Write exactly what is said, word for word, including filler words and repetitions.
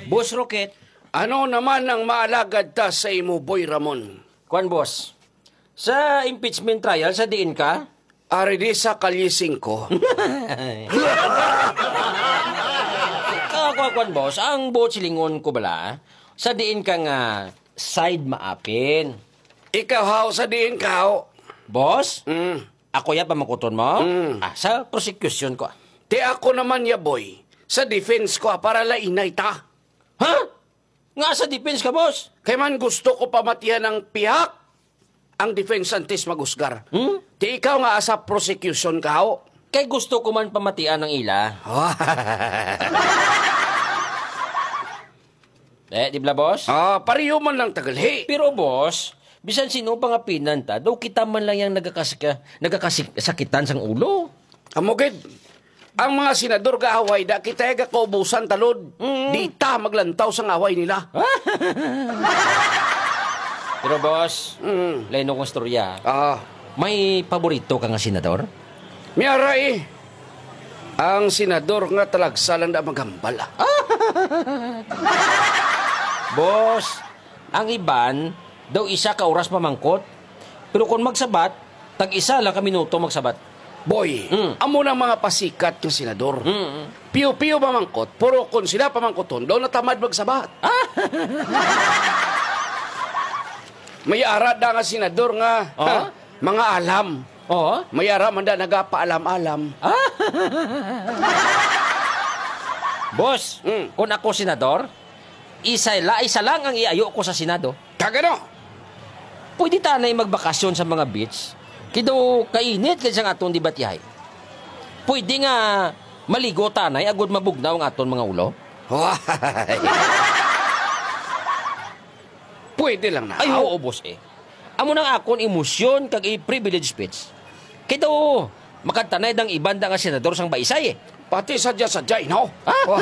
Boss Rocket. Ano naman ang maalagad ta sa imo, Boy Ramon? Kwan, boss. Sa impeachment trial, sa diin ka? Ari di sa Kalye singko. Ah, kwan, kwan, boss. Ang buot silingon ko bala, sa diin ka nga side maapin? Ikaw, haw, sa diin ka, haw? Boss? Mm. Ako ya pamangkuton mo? Mm. Ah, sa prosecution ko. Ti ako naman ya, boy. Sa defense ko, ah, para lainay ta. Ha? Nga sa defense ka, boss? Kay man gusto ko pamatihan ang pihak, ang defense antes mag-usgar. Hmm? Ti ikaw nga asa prosecution ka, ho? Kay gusto ko man pamatian ang ila. Eh, di bala, boss? Ah, pareho man lang tagalhi. Pero, boss, bisan sino pangapinan ta, daw kita man lang yang nagakasika-, nagakasik-, sakitan sang ulo. Amo gid. Ang mga senador gaaway, da kita gakaubusan talod. Mm. Di ta maglantaw sang away nila. Pero, boss, Mm. lain akong istorya. Ah. May paborito ka nga senador? May ara, eh. Ang senador nga talagsa lang na maghambal, ah. Boss, ang iban daw isa ka oras mamangkot. Pero kung magsabat, tag-isa lang ka minuto magsabat. Boy, Mm. amo na mga pasikat nga senador. Mm. Piyo-piyo mamangkot, pero kung sila pamangkuton, daw natamad magsabat. Ah! May ara da nga senador nga, Oh? ha, mga alam. Oh? May ara man da nagapaalam-alam. Ah! Boss, Mm. kung ako senador, isa, la, isa lang ang iayo ko sa Senado. Kagano? Pwede tanay magbakasyon sa mga beach. Kay daw kainit kay sang aton debatihay. Pwede nga maligo tanay agud mabugnaw ang aton mga ulo. Why? Pwede lang na. Ay, oo, boss, eh. Amo nang akon emosyon kag i-privilege speech. Kay daw, makadtanay dang iban da nga senador sang baisay, eh. Pati sadya-sadya, no? Ah? Why?